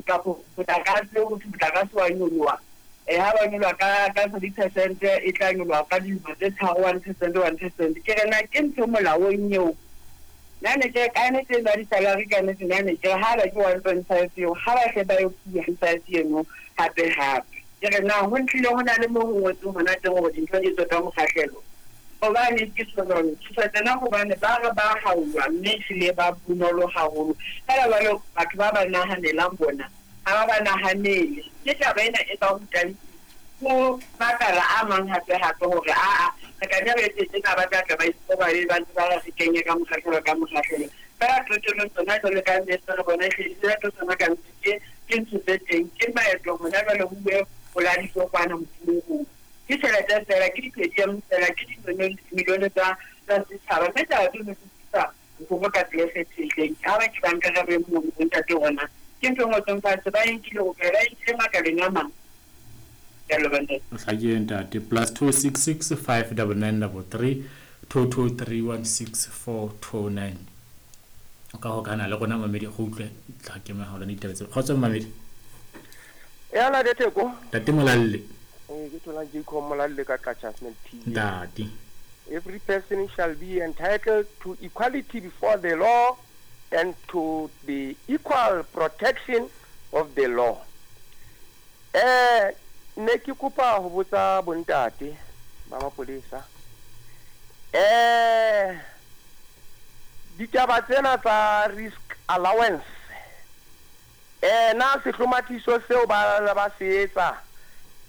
Kapo motlakase ho thwe motlakase wa nyoloha. Ha ba nyoloha ka 3% e tla nyoloha ka dilemo tse tharo 1% 1%. Ke re na ke ntho molaong eo. Nna ne ke re ka nnete eno ya di-salary ka nnete nna ne ke re ha ba ke 1.5 eo ha ba hle ba e 5 eno hape hape. Ke re na ho ntlile ho na le mo ho ngotsweng hona teng hore dintho di etswe ka mokgahlelo. Hobane ke tjho jwalo, ke tjho tjena hobane ba re ba hauwa mme ehlile ba bonolo haholo. Feela jwale batho ba ba nahanelang bona ha ba ba nahanele. Ke taba ena e ba rutang ho makala a mang hape hape hore aa re tla nne re etse tjena ba tla tla ba ikobabe ba ntse ba re re kenye ka mokgahlelo ka mokgahlelo. Feela qetellong tsona jwale ka nnete re bona ehlile di tsona ka nnete ke ke ntho tse teng. Ke maeto hona jwale ho uwe ho la ditokwana moruong. Ke tjhelete feela, ke di-per-diem feela, ke dimilione tsa tsa setjhaba. Mme taba tseno di tlisa bohloko ka tsela e kgethehileng. Ha ba ke ba nka re mono bo ntate rona. Ke ntho e ngotsweng fatshe, ba e nkile hokae? Ba e nkile makaleng a mang. Ke a leboha ntate. O hlakile ntate. +266 599 33 223 164 29. O ka hokahana le rona mamedi re utlwe tla ke mahala ditaba tse. Kgotso mamedi. Ya la Theko. Ntate Molalle. Eh ke thola Jacob Molalle ka Qacha's T. Ntate. Every person shall be entitled to equality before the law and to the equal protection of the law. Eh ne ke kopa ho botsa bontate ba mapolesa. Eh ditaba tsena tsa risk allowance na sehlomathiso seo ba ba se etsa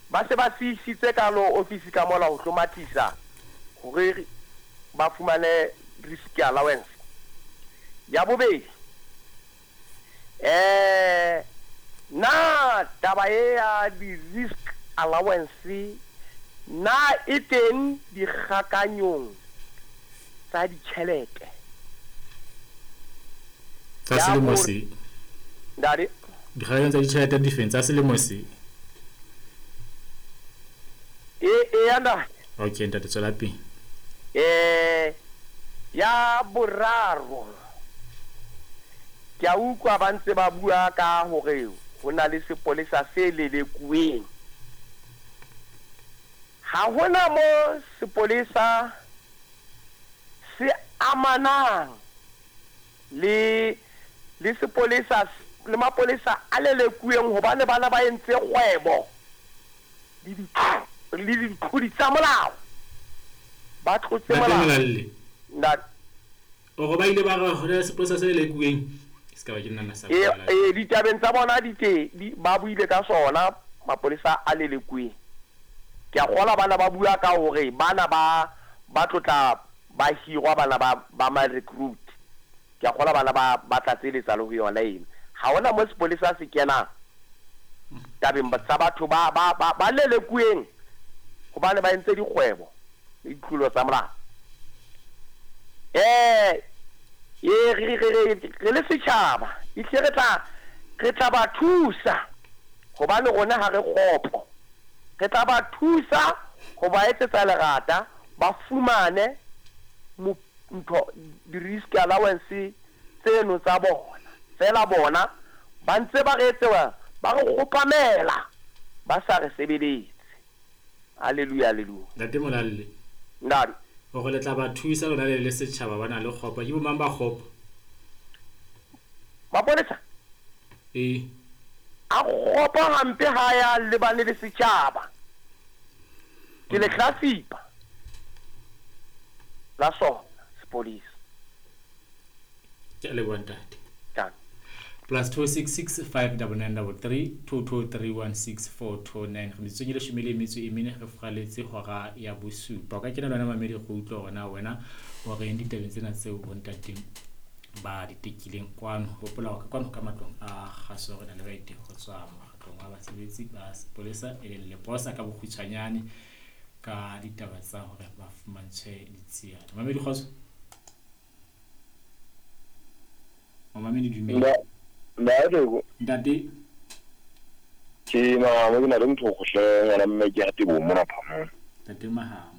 ba se ba se isitse ka lo office ka mola ho hlomathisa hore ba fumane risk allowance. Ya bobedi na taba e ya di-risk allowance na e teng dikgakanyong tsa ditjhelete? Tsa selemo se. Ntate. Dikgakanyong tsa ditjhelete di feng tsa selemo se? E ya ntate. Okay ntate tswela pele. Ya boraro ke a utlwa ba ntse ba bua ka hore ho na le sepolesa se lelekuweng. Ha hona mo sepolesa se amanang le le sepolesa le mapolesa a lelekuweng hobane bana ba entse kgwebo le ditlodi tsa molao. Ba tlotse molao. Ntate. O ba ile ba re ho na le sepolesa se lelekuweng. Se ka ba ke nna sa. E ditabeng tsa bona di te ba buile ka sona mapolesa a lelekuweng. Ke a kgola bana ba bua ka hore bana ba ba tlotla ba hirwa bana ba ba ma recruit. Ke a kgola bana ba ba tlatseletsa le ho yona eno. Ha hona mo sepolesa se kenang tabeng tsa batho ba ba ba ba lelekuweng hobane ba entse dikgwebo le ditlolo tsa molao. E re re re le setjhaba ehlile re tla ba thusa hobane rona ha re kgopo. Re tla ba thusa ho ba etsetsa lerata ba fumane ntho di-risk allowance tseno tsa bona. Feela bona ba ntse ba re etsewa ba re kgopamela ba sa re sebeletse. Hallelujah, hallelujah. Ntate Molalle. Ntate. Hore le tla ba thusa lona le le setjhaba ba na le kgopo. Ke bo mang ba kgopo? Mapolesa? E. A kgopo hampe ha ya lebane le setjhaba. Ke le hlasipa la sona sepolesa. Ke a leboha ntate. +266 599 33 223 164 29. Re metsotsong e leshome le metso e mene re furaletse hora ya bosupa. O ka kena le wena mamedi go utlwa hore na wena o reng ditabeng tsena tseo bontateng ba di tekileng kwano. Hopola hore kwano ka matlong a kgaso re na le baeti ho tswa mokgatlong wa basebetsi ba sepolesa e leng Leposa ka bokgutshwanyane ka ditaba tsa hore ba fumantshwe ditsiane. Mamedi kgotso. Mamedi dumela. Ntate. Ntate. Ke Mahamo ke na le ntho go hle ngwana mme ke ya Teboho mona Phamong. Ntate Mahamo.